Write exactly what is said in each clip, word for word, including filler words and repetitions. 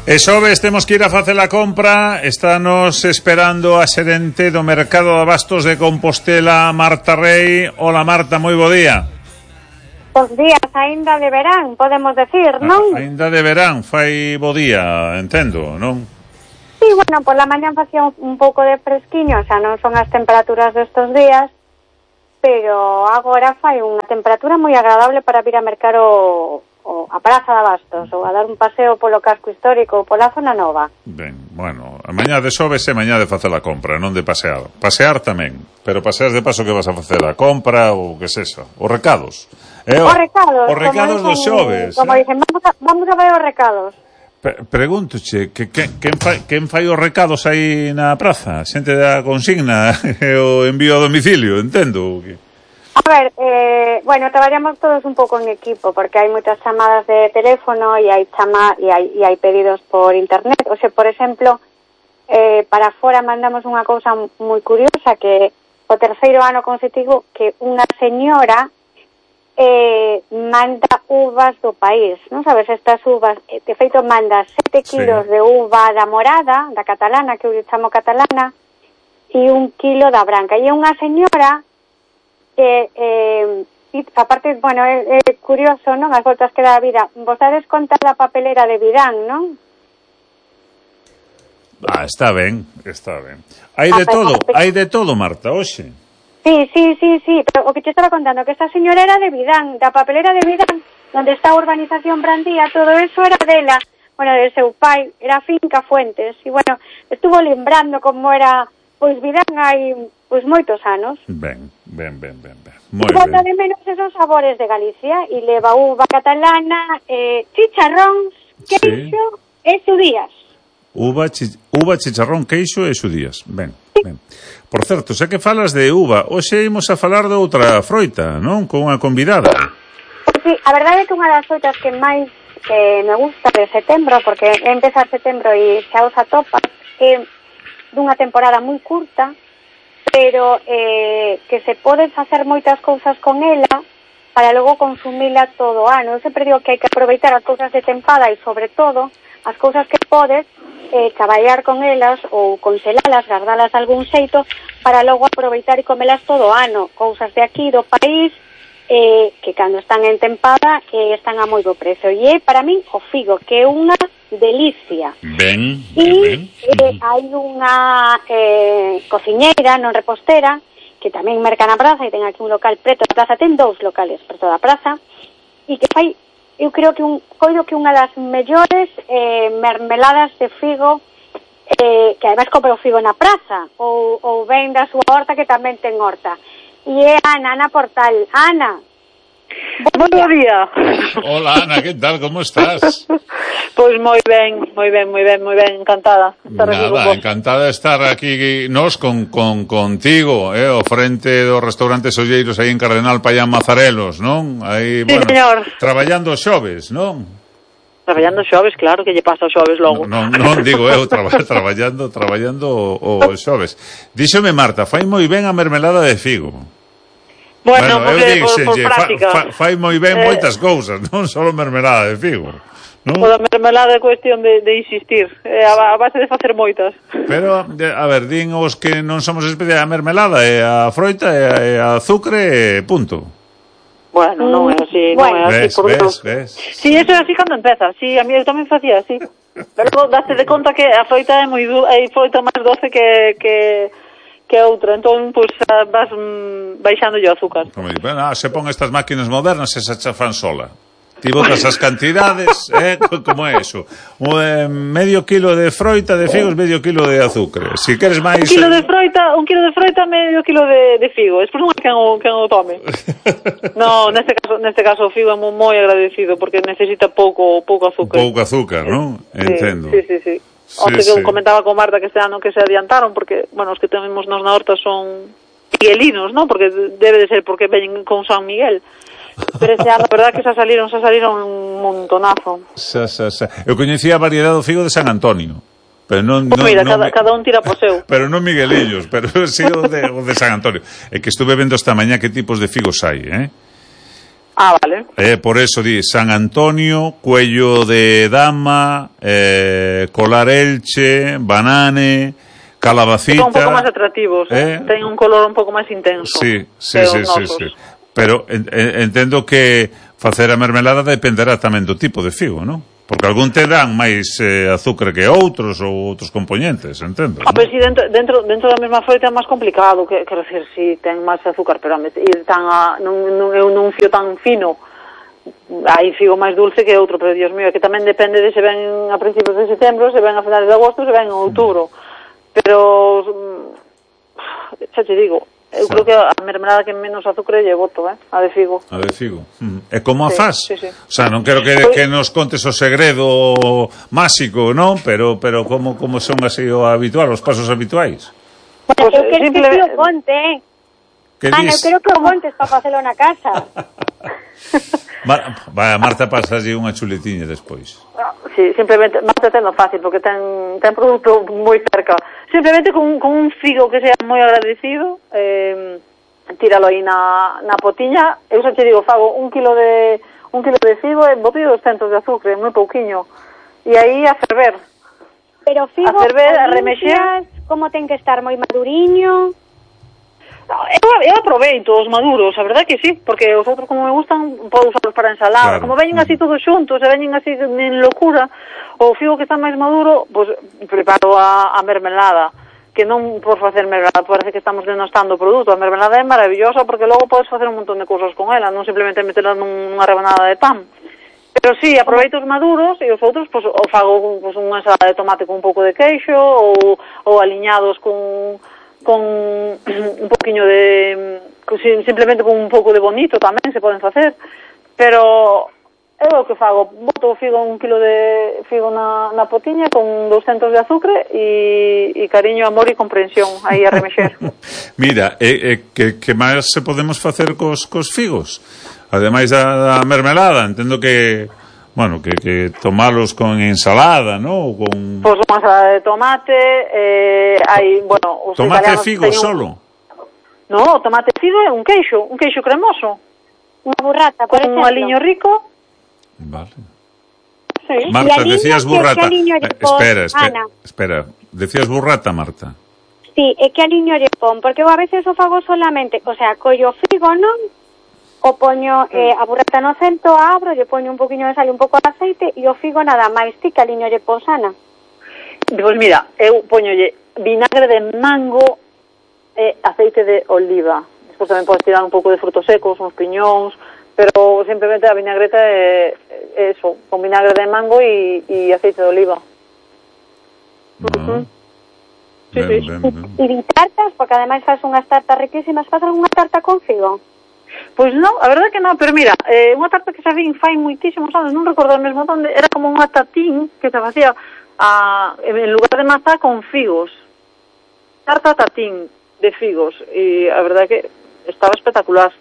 E xoves temos que ir a facer a compra. Estános esperando a xerente do Mercado de Abastos de Compostela, Marta Rei. Hola Marta, moi bo día. Bos días, aínda de verán, podemos decir, non? A, aínda de verán, fai bo día, entendo, non? Sí, bueno, por la mañán facía un, un pouco de fresquiño, xa non son as temperaturas destes días, pero agora fai unha temperatura moi agradable para vir a mercar o... o a Praza de Abastos, ou a dar un paseo polo casco histórico ou pola zona nova. Ben, bueno, a mañá de xoves é mañá de facer a compra, non de pasear. Pasear tamén, pero paseas de paso que vas a facer a compra ou que se eso, os recados. Eh, os recados, os recados dos xoves. Como eh? dicen, vamos a, vamos a ver os recados. Pre Pregúntoche, que, que, quen, fai, quen fai os recados aí na praza? Xente da consigna e o envío a domicilio, entendo que... A ver, eh, bueno, traballamos todos un pouco en equipo, porque hai moitas chamadas de teléfono e hai chama e hai, e hai pedidos por internet. O sea, por exemplo, eh, para fora mandamos unha cousa moi curiosa, que o terceiro ano consecutivo que unha señora eh, manda uvas do país, non sabes, estas uvas, de feito manda sete kilos sí. de uva da morada, da catalana, que eu chamo catalana, e un kilo da branca. E é unha señora que, eh, aparte, bueno, é, é curioso, non? As voltas que dá a vida. Vos dades conta da papelera de Vidán, non? Ah, está ben, está ben. Hai de todo, hai de todo, Marta, hoxe. Sí, sí, sí, sí, pero o que te estaba contando, que esta señora era de Vidán, da papelera de Vidán, donde está a urbanización Brandía, todo eso era dela, bueno, de seu pai, era Finca Fuentes, e bueno, estuvo lembrando como era, pois Vidán hai, pois moitos anos. Ben, ben, ben, ben, ben. Moi ben. Bota de menos esos sabores de Galicia, e leva uva catalana, eh, chicharróns, queixo sí. e xudías. Uva, chi, uva, chicharrón, queixo e xudías, ben, sí. ben. Por certo, xa que falas de uva, hoxe imos a falar de outra froita, non? Con unha convidada. Pois sí, a verdade é que unha das froitas que máis eh, me gusta de setembro, porque empeza setembro e xa os atopas, é dunha temporada moi curta, pero eh, que se poden facer moitas cousas con ela para logo consumila todo o ano. Eu sempre digo que hai que aproveitar as cousas de tempada e, sobre todo, as cousas que podes eh, traballar con elas ou conselalas, guardalas de algún xeito para logo aproveitar e comelas todo o ano. Cousas de aquí, do país, eh, que cando están en tempada eh, están a moi bo precio. E é, para min, o figo, que é unha delicia. Ben, ben, e, ben. Eh, hai unha eh, cociñeira, non repostera, que tamén merca na praza, e ten aquí un local preto da praza, ten dous locales preto da praza, e que fai, eu creo que un, coido que unha das mellores eh, mermeladas de figo, eh, que ademais compra o figo na praza, ou, ou ven da súa horta, que tamén ten horta. E é Ana, Ana Portal. Ana, Bon día. día. Hola, Ana, que tal? Como estás? Pois moi ben, moi ben, moi ben, moi ben, encantada. Nada, encantada de estar aquí nos con, con contigo, eh, o frente dos restaurantes olleiros aí en Cardenal Paián Mazarelos, non? Aí, sí, bueno, señor. Traballando xoves, non? Traballando xoves, claro, que lle pasa os xoves logo. Non, non, non digo eu, traba, traballando, traballando o, o xoves. Díxome Marta, fai moi ben a mermelada de figo. Bueno, bueno porque eu por, por práctica. Fa, fa, fai moi ben eh, moitas cousas, non só mermelada de figo. Non? O da mermelada é cuestión de, de insistir, é a, a base de facer moitas. Pero, a ver, din os que non somos especiais a mermelada, é a froita, é a azucre, punto. Bueno, non é así, bueno, non é así. Ves, por ves, ves. Si, sí, eso é así cando empeza, si, sí, a mí eu tamén facía así. Pero daste de conta que a froita é moi dulce, hai froita máis doce que... que que outra, entón, pois, pues, vas mm, baixando o azúcar. Como digo, bueno, se pon estas máquinas modernas e se chafan sola. Ti botas as cantidades, eh, como é eso? Un, eh, medio kilo de froita de figos, medio kilo de azúcar. Si queres máis... Un kilo de froita, un kilo de froita, medio kilo de, de figo. Despois non é quen o, quen o tome. No, neste caso, neste caso o figo é moi agradecido, porque necesita pouco, pouco azúcar. Pouco azúcar, non? Sí, entendo. Sí, sí, sí. Sí, Onte sí. que comentaba con Marta que este ano que se adiantaron, porque, bueno, os que tenemos nos na horta son miguelinos, non? Porque debe de ser porque veñen con San Miguel. Pero este ano, a verdad que xa saliron, xa saliron un montonazo. Xa, xa, xa. Eu coñecía a variedade do figo de San Antonio. Pero non, pues non, mira, non, cada, cada un tira por seu. Pero non Miguelillos, pero sí o de, o de San Antonio. É que estuve vendo esta mañá que tipos de figos hai, eh? Ah, vale. Eh, por eso di San Antonio, cuello de dama, eh, colar Elche, banane, calabacita. Son un pouco máis atractivos, eh? ten un color un pouco máis intenso. Sí, sí, sí, sí, sí. Pero en, en, entendo que facer a mermelada dependerá tamén do tipo de figo, non? Porque algún te dan máis eh, azúcar que outros ou outros componentes, entendo. Ah, pero si dentro, dentro, dentro da mesma froita é máis complicado, que, quero decir, si ten máis azúcar, pero ir tan a, non, non, eu non fío tan fino, hai figo máis dulce que outro, pero Dios mío, é que tamén depende de se ven a principios de setembro, se ven a finales de agosto, se ven en outubro. Pero, xa te digo, eu creo que a mermelada que menos azúcar lle boto, eh? A de figo. A de figo. Mm. E como a sí, faz? Sí, sí. O sea, non quero que, que nos contes o segredo máxico, non? Pero pero como como son así o habitual, os pasos habituais? Bueno, Pues, eu quero simple... que o conte. Que Ana, eu quero que o contes para facelo na casa. Mar, vaya, Marta pasaslle unha chuletiña despois. Sí, simplemente, Marta tendo fácil, porque ten, ten produto moi cerca. Simplemente con, con un figo que sea moi agradecido, eh, tíralo aí na, na potiña. Eu xa te digo, fago un kilo de un kilo de figo e boto doscientos de azúcar, moi pouquiño. E aí a ferver. Pero figo, a ferver, a remexer. Como ten que estar moi maduriño? Eu, eu aproveito os maduros, a verdade que sí, porque os outros como me gustan podo usarlos para ensalada, claro. Como veñen así todos xuntos e veñen así en locura, o figo que está máis maduro, pois pues, preparo a, a mermelada, que non por facer mermelada parece que estamos denostando o produto. A mermelada é maravillosa porque logo podes facer un montón de cousas con ela, non simplemente meterla nunha rebanada de pan. Pero sí, aproveito os maduros e os outros pois, o fago pois, unha ensalada de tomate con un pouco de queixo ou, ou aliñados con con un poquinho de simplemente con un pouco de bonito tamén se poden facer, pero é o que fago, boto o figo un kilo de figo na, na potiña con doscientos de azúcar e, e cariño, amor e comprensión aí a remexer. Mira, e, e, que, que máis se podemos facer cos, cos figos? Ademais da, da mermelada, entendo que bueno, que, que tomalos con ensalada, ¿no? Con... Pois pues, unha ensalada de tomate, eh, hai, bueno... Os tomate figo solo? Un... No, tomate figo é un queixo, un queixo cremoso. Unha burrata, por con exemplo. Un aliño rico. Vale. Sí. Marta, decías burrata. Que, que eh, espera, espera, espera. Decías burrata, Marta. Sí, é que aliño lle pon, porque eu a veces o fago solamente, o sea, collo figo, non? O poño eh, a burrata no centro, abro, lle poño un poquinho de sal e un pouco de aceite e o figo nada máis. Ti que aliño lle pon, Ana? Pois mira, eu poñolle vinagre de mango e aceite de oliva. Despois tamén podes tirar un pouco de frutos secos, uns piñóns, pero simplemente a vinagreta é, é eso, con vinagre de mango e, e aceite de oliva. No. Uh-huh. Sí, ben, sí. ben, ben. E tartas, porque ademais faz unhas tartas riquísimas. Faz algunha tarta con figo? Pois non, a verdade que non, pero mira, eh, unha tarta que xa vin fai moitísimos anos, non recordo mesmo onde, era como unha tatín que se facía a, en lugar de mazá con figos. Tarta tatín de figos, e a verdade que estaba espectacular.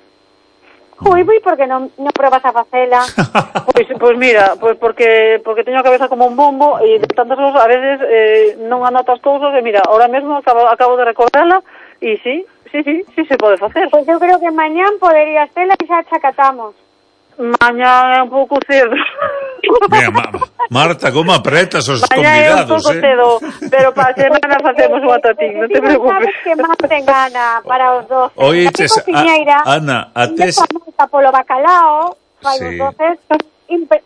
Ui, ui, porque non, non probas a facela? Pois, pois mira, pois porque porque teño a cabeza como un bombo e de tantas cousas, a veces eh, non anoto as cousas e mira, ahora mesmo acabo, acabo de recordarla e sí, sí, sí, sí se pode facer. Pois eu creo que mañán poderías tela e xa chacatamos. Mañá é un pouco cedo. Mira, ma, Marta, como apretas os mañá convidados, é un pouco eh? cedo, pero para a semana facemos unha tatín, non te preocupes. Sabes que máis ten gana para os doces. Oíches, a, Ana, a tes... Marta polo bacalao, fai Sí. os doces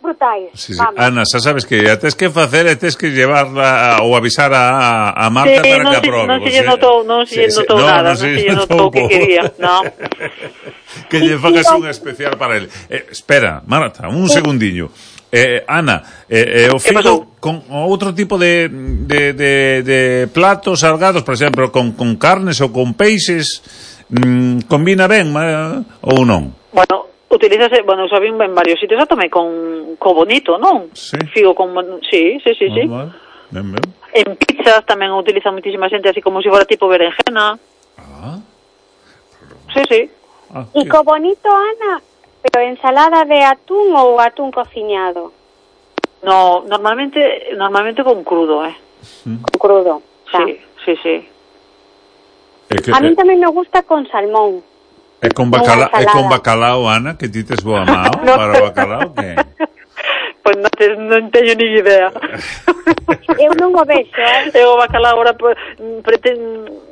brutais. Sí, sí. Ana, xa sabes que a tes que facer e tes que llevarla ou avisar a, a Marta sí, para non que si, aprobe. Non se lle notou, non se lle notou nada, non se lle notou o que quería, non. Que lle fagas un especial para ele. Eh, espera, Marta, un segundiño. Eh, Ana, eh, eh, o figo con outro tipo de, de, de, de platos salgados, por exemplo, con, con carnes ou con peixes, mm, combina ben eh, ou non? Bueno, utilízase, bueno, xa vin en varios sitios, xa tomei con co bonito, non? Sí. Figo con, sí, sí, sí, sí. Ah, vale. Ben, ben. En pizzas tamén utiliza muitísima xente así como se si fora tipo berenjena. Ah. Sí, sí. Ah, E co bonito, Ana, pero ensalada de atún ou atún cociñado? No, normalmente normalmente con crudo, eh. Con crudo. Sí, sí, sí. É que, A mí tamén me gusta con salmón. E con bacalao, e con bacalao, Ana, que ti tes boa mao no. Para o bacalao, que? Pois non, te, non teño ni idea. Eu non o vexo, eh? Eu o bacalao agora pretendo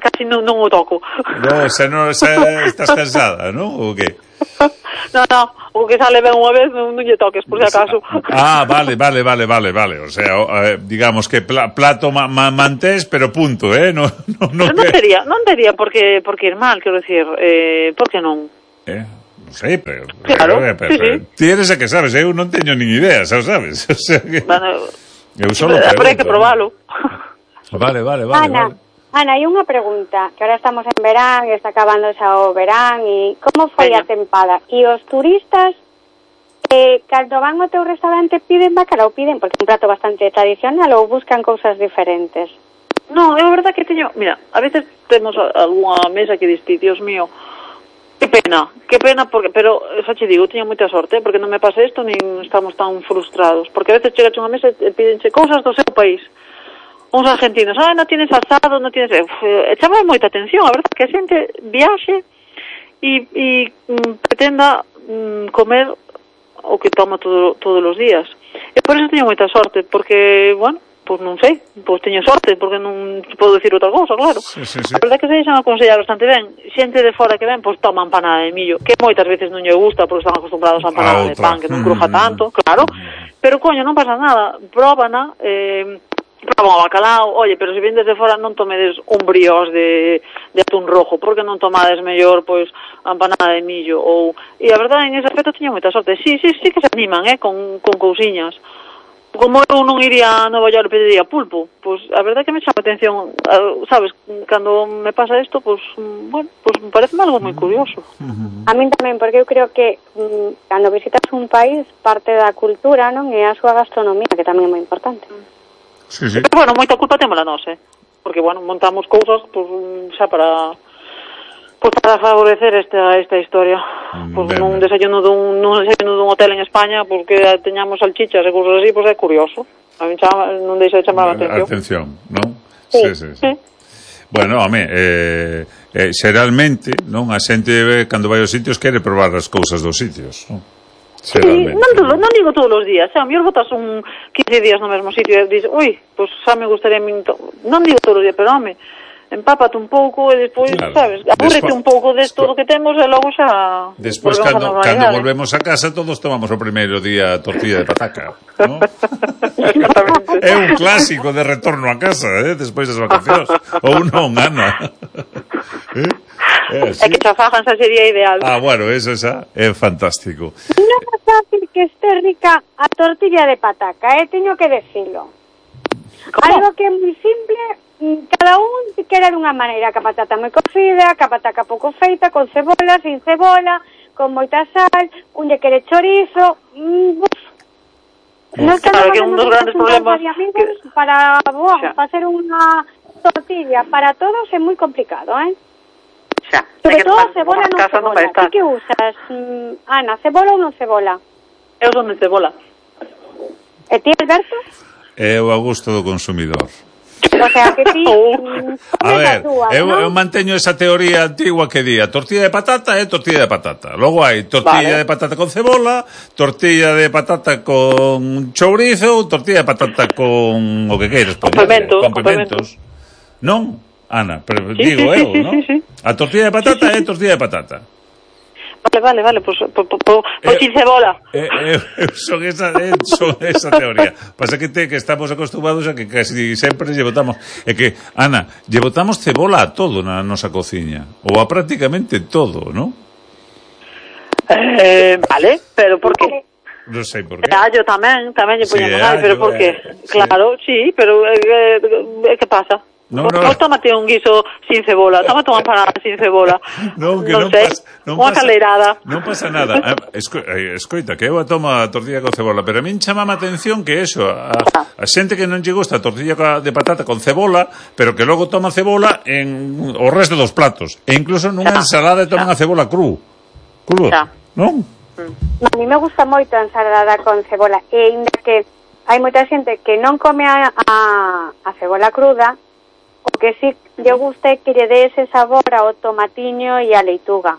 casi non, non o toco. No, xa non, xa estás cansada, non? Ou que? No, no, o que sale ben unha vez non, non lle toques, por si acaso. Ah, vale, vale, vale, vale, vale. O sea, eh, digamos que pla, plato ma, ma, mantés, pero punto, eh? No, no, no, non tería, non tería por que, por que ir mal, quero decir, eh, por que non? Eh, non sei, pero... Claro, pero, pero, sí, pero, sí. Ti eres a que sabes, eu non teño nin idea, xa sabes? O sea que... Bueno, eu solo pero pregunto, hai que probalo. Vale, vale, vale, Ana, vale. Ana, hai unha pregunta, que ahora estamos en verán, está acabando xa o verán, e como foi Veña. a tempada? E os turistas, eh, cando van ao teu restaurante, piden bacalao, piden, porque é un prato bastante tradicional, ou buscan cousas diferentes? Non, é verdad que teño... Mira, a veces temos algunha mesa que diste, Dios mío, que pena, que pena, porque, pero, xa che digo, teño moita sorte, porque non me pasa isto, nin estamos tan frustrados, porque a veces chegas a unha mesa e pídenche cousas do seu país. Uns argentinos, ah, non tienes asado, non tienes... E chama moita atención, a verdade, que a xente viaxe e, e mm, pretenda mm, comer o que toma todo, todos os días. E por eso teño moita sorte, porque, bueno, pois non sei, pois teño sorte, porque non podo decir outra cousa, claro. Sí, sí, sí. A verdade que se deixan aconsellar bastante ben. Xente de fora que ven, pois toma empanada de millo, que moitas veces non lle gusta, porque están acostumbrados a empanada de pan, que non cruja tanto, claro. Pero, coño, non pasa nada, próbana, eh... Proba o bacalao, oye, pero se vendes de fora non tomedes un briós de, de atún rojo, porque non tomades mellor, pois, a empanada de millo, ou... E a verdade, en ese aspecto teño moita sorte. Sí, sí, sí que se animan, eh, con, con cousiñas. Como eu non iría a Nova York e pediría pulpo, pois, a verdade que me chama atención, sabes, cando me pasa isto, pois, bueno, pois, me parece algo moi curioso. A min tamén, porque eu creo que mm, cando visitas un país, parte da cultura, non, é a súa gastronomía, que tamén é moi importante. Sí, sí. Pero, bueno, moita culpa témola nós, eh? Porque, bueno, montamos cousas, pois, xa para... Pois para favorecer esta esta historia. Pois ben, nun desayuno dun, nun desayuno dun hotel en España, pois que teñamos salchichas e cousas así, pois é curioso. A mí chama, non deixa de chamar a atención. Atención, non? Sí, sí, sí. sí. Bueno, home, eh, eh, xeralmente, non, a xente cando vai aos sitios quere probar as cousas dos sitios, non? Sí, non, todo, non digo todos os días, xa, a mellor botas un quince días no mesmo sitio e dices, ui, pois xa me gustaría non digo todos os días, pero home, empápate un pouco e despois, claro, sabes, abúrrete un pouco de todo o que temos e logo xa despois cando, cando volvemos a casa todos tomamos o primeiro día tortilla de pataca, ¿no? É un clásico de retorno a casa, eh, despois das vacacións, ou non, Ana. eh? É, é que xa fajan xa sería ideal. Ah, bueno, eso xa é fantástico. Non é fácil que este rica a tortilla de pataca, eh, teño que decirlo. Algo que é moi simple, cada un quere dunha maneira, que a patata moi cocida, que a pataca pouco feita, con cebola, sin cebola, con moita sal, un lle quere chorizo, mm, uf. Non claro, que un dos grandes problemas que... para, boa, para hacer unha tortilla para todos é moi complicado, eh? Xa, sobre todo cebola non cebola. Non que usas, mm, Ana, cebola ou non cebola? Eu son de cebola. E ti, Alberto? É o a gusto do consumidor. O sea, que ti... Mm, a ver, dúas, eu, ¿no? eu manteño esa teoría antigua que día tortilla de patata é tortilla de patata. Logo hai tortilla vale. de patata con cebola, tortilla de patata con chourizo, tortilla de patata con o que queiras. Complementos. Complementos. Non? Ana, pero sí, digo sí, eu, sí, ¿no? Sí, sí. A tortilla de patata é tortilla de patata. Vale, vale, vale, pois pues, pues, pues, pues, sin cebola. Eh, eh, eh, son esa, eh, son esa teoría. Pasa que te, que estamos acostumbrados a que casi sempre lle botamos, é que, Ana, lle botamos cebola a todo na nosa cociña, ou a prácticamente todo, ¿no? Eh, vale, pero por qué? Non sei por qué. E allo tamén, tamén lle poñemos sí, allo, pero por qué? Eh, claro, sí, sí pero eh, eh, que pasa? No, no. Pois tómate un guiso sin cebola, tómate unha empanada sin cebola. No, que non, non sei, pasa, non unha pasa, caleirada. Non pasa nada. Esco, escoita, que eu a tomo a tortilla con cebola, pero a min chamame a atención que eso, a, a xente que non lle gusta a tortilla de patata con cebola, pero que logo toma cebola en o resto dos platos. E incluso nunha ensalada toman a cebola cru. Cru, non? A mí me gusta moito a ensalada con cebola, e ainda que hai moita xente que non come a, a, a cebola cruda, o que sí lle gusta é que lle dé ese sabor ao tomatiño e a leituga.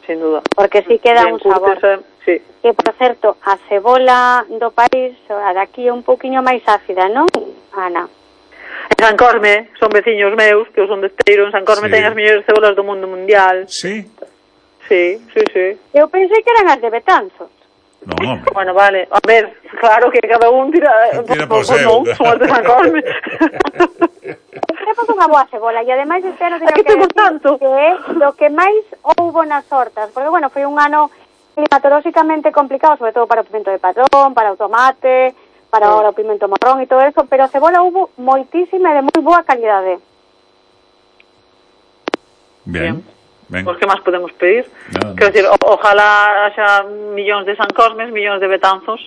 Sin duda. Porque sí que dá un sabor. Curtesa, sí. Que, por certo, a cebola do país, a daqui é un poquinho máis ácida, non, Ana? En San Corme, son veciños meus, que son de Esteiro, en San Corme Sí. ten as mellores cebolas do mundo mundial. Sí? Sí, sí, sí. Eu pensei que eran as de Betanzos. Non, hombre. Bueno, vale, a ver, claro que cada un tira... Tira por pues, seu. non, son as de San Corme. Temos unha boa cebola e ademais espero teño A que que temos decir tanto? que é do que máis houbo nas hortas, porque bueno, foi un ano climatolóxicamente complicado, sobre todo para o pimento de patrón, para o tomate, para Sí. o pimento marrón e todo eso, pero a cebola houbo moitísima e de moi boa calidade. Bien. Ben. Pois que máis podemos pedir? Nada Quero máis. decir, o, ojalá haxa millóns de San Cormes, millóns de Betanzos.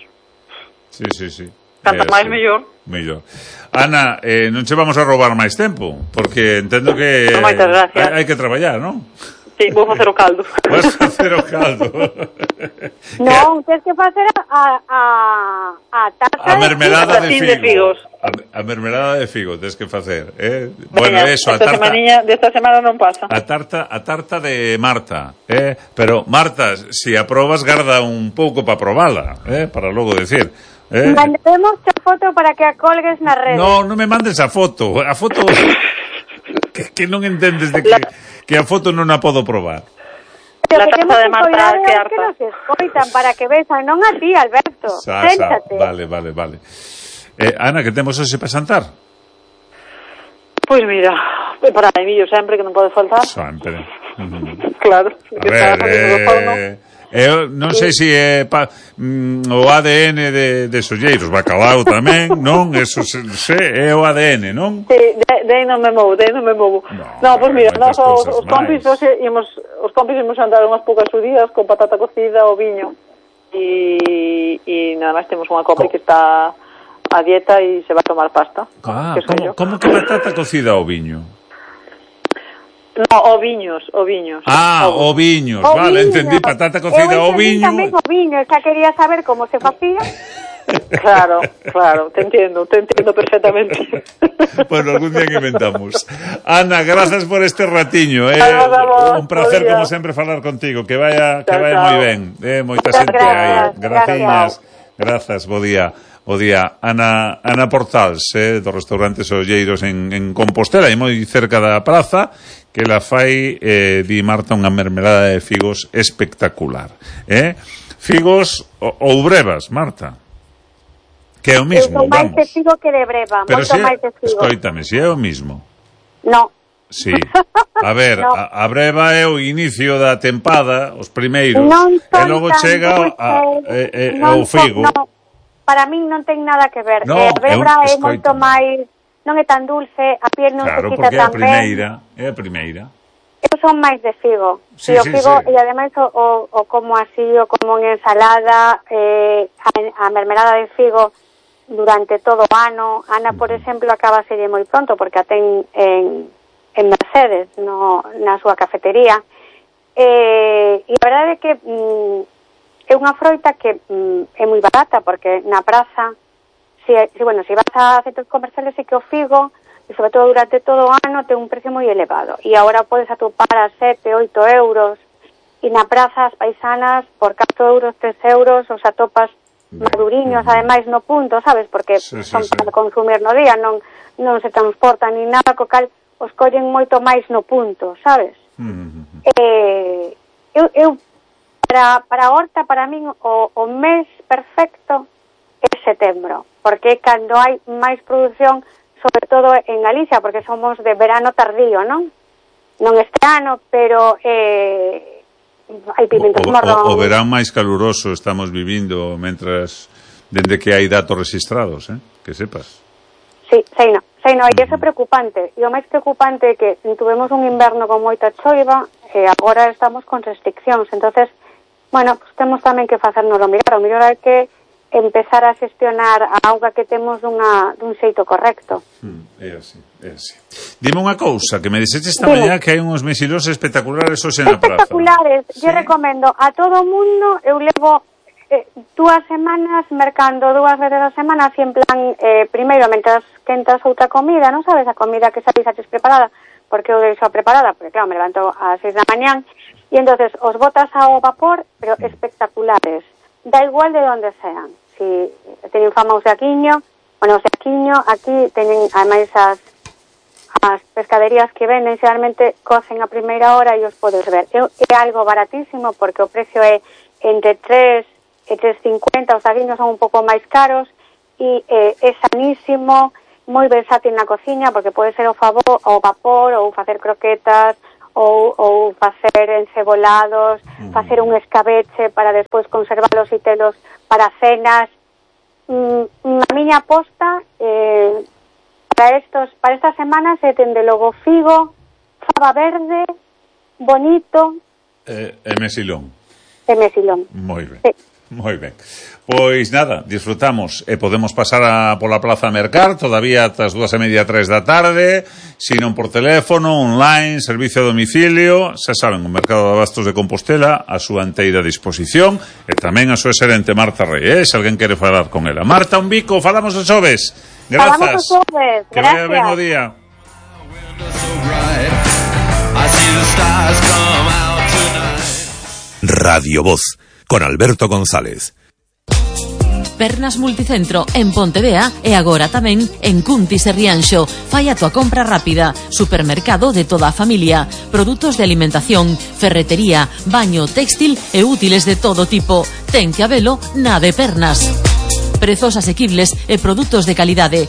Sí, sí, sí. Canto É máis así. mellor. Mellor. Ana, eh, non che vamos a roubar máis tempo, porque entendo que No, moitas gracias. hai, hai que traballar, non? Sí, vou facer o caldo. Vas a facer o caldo. Non, tens que facer a a a tarta A mermelada de Tatín figo. de figos. A, a mermelada de figo tens que facer, eh? Bueno, Veña, eso, a esta tarta semaniña desta semana non pasa. a tarta a tarta de Marta, eh? Pero Marta, si aprobas garda un pouco para probala, eh? Para logo decir, eh? Mandaremos a foto para que a colgues na rede. No, non me mandes a foto. A foto que, que non entendes de que, que a foto non a podo probar. Pero La que taza temos de que Marta, coidar que é os harta. que nos escoitan para que vexan, non a ti, Alberto. Sa, sa. Séntate. Vale, vale, vale. Eh, Ana, que temos hoxe para xantar? Pois mira, é para Emilio sempre, que non pode faltar. Sempre. Uh-huh. Claro. A ver, eh, eu non sei se é pa, mm, o A D N de, de Solleiros, bacalao tamén, non? Eso se, se é o A D N, non? Sí, de, de aí non me movo, de aí non me movo. No, No, pois mira, moitas nós os, cousas os compis máis. hoxe ímos, os compis ímos andar unhas poucas judías con patata cocida o viño. E, e nada máis temos unha copa Co- que está a dieta e se va a tomar pasta. Ah, que son como, yo. como que patata cocida ao viño? No, oviños, oviños. Ah, Ovos. oviños, O vale, viño. entendí, patata cocida Eu ao entendí viño. tamén o viño, xa quería saber como se facía. Claro, claro, te entiendo, te entiendo perfectamente. Bueno, algún día que inventamos. Ana, gracias por este ratiño, eh. Nada, nada, Un placer bo día. como sempre falar contigo, que vaya que Chao, vaya chao. moi ben. Eh, moita Muchas xente gracias, aí. Graciñas. gracias. Grazas, bo día. Bo día. Ana Ana Portals, eh, do restaurante Solleiros en en Compostela, e moi cerca da praza, que la fai eh, di Marta unha mermelada de figos espectacular, eh? Figos ou, ou brevas, Marta. Que é o Eu mismo, son máis vamos. de figo que de breva, Pero moito si, máis de figo. escoítame, si é o mismo. No. Sí. A ver, No. a, a breva é o inicio da tempada, os primeiros, Non e son logo tan chega a, dulces, e, e, non o figo. son- no, para min non ten nada que ver. No, eh, a brebra eu- é moito escoítame. máis, non é tan dulce, a piel non Claro, se quita porque é a tan ben. primeira, é a primeira. Eu son máis de figo. Sí, e o sí, figo, sí. e ademais o, o, o como así, o como en ensalada, eh, a, a mermelada de figo durante todo o ano. Ana, por exemplo, acaba a serie moi pronto, porque a ten en, en Mercedes, no, na súa cafetería. Eh, e a verdade é que mm, é unha froita que mm, é moi barata, porque na praza, si, si, bueno, si vas a centros comerciales, sí que o figo, e sobre todo durante todo o ano, ten un precio moi elevado. E agora podes atopar a sete, oito euros, e na praza as paisanas, por catro euros, tres euros, os atopas maduriños, ademais no punto, sabes? Porque Sí, sí, son sí. para consumir no día, non non se transportan ni nada, co cal os collen moito máis no punto, sabes? Mm. Eh, eu, eu para, para a horta, para min, o, o mes perfecto é setembro, porque é cando hai máis produción, sobre todo en Galicia, porque somos de verano tardío, non? Non este ano, pero eh, hai pimentos O, morrón. o, o verán máis caluroso estamos vivindo mentras dende que hai datos registrados, eh? Que sepas. Sí, sei no, sei no, e iso é preocupante. E o máis preocupante é que tuvemos un inverno con moita choiva e agora estamos con restriccións. Entonces, bueno, pues temos tamén que facérnoslo mirar. O mellor hai que empezar a xestionar a auga que temos dunha, dun xeito correcto. Mm, é así, é así. Dime unha cousa, que me dixeche esta Dime. mañá que hai uns mesilos espectaculares hoxe na praza. Espectaculares, Sí? yo recomendo a todo o mundo, eu levo eh, dúas semanas, mercando dúas veces a semana, así en plan, eh, primeiro, mentras quentas outra comida, non sabes, a comida que sabes haches preparada, porque eu deixo preparada, porque claro, me levanto ás seis da mañán, e entonces os botas ao vapor, pero espectaculares, da igual de onde sean, si teñen fama o seaquiño, bueno, o seaquiño, aquí teñen, ademais, as as pescaderías que venden, xeralmente cocen a primeira hora e os podes ver. É, é algo baratísimo, porque o precio é entre tres e tres cincuenta, os aguiños son un pouco máis caros, e eh, é sanísimo, moi versátil na cociña, porque pode ser o, favor, o vapor, ou facer croquetas, ou, ou facer encebolados, mm. facer un escabeche para despois conservalos e telos para cenas. Mm, a miña aposta eh, para estos, para estas semanas é dende logo figo, fava verde, bonito e eh, mesilón. E mesilón. Moi ben. Sí. Moi ben. Pois nada, disfrutamos e podemos pasar a, pola Plaza Mercar todavía ata as dúas e media, tres da tarde, sino por teléfono, online, servicio a domicilio. Xa saben, o Mercado de Abastos de Compostela a súa inteira disposición, e tamén a súa xerente Marta Rey, eh? Se alguén quere falar con ela. Marta, un bico, falamos os xoves. Grazas. Falamos os xoves. Que vaya ben o día. Radio Voz, con Alberto González. Pernas Multicentro en Pontevea e agora tamén en Cuntis e Rianxo. Fai a tua compra rápida. Supermercado de toda a familia. Produtos de alimentación, ferretería, baño, textil e útiles de todo tipo. Ten que habelo na de Pernas. Prezos asequibles e produtos de calidade.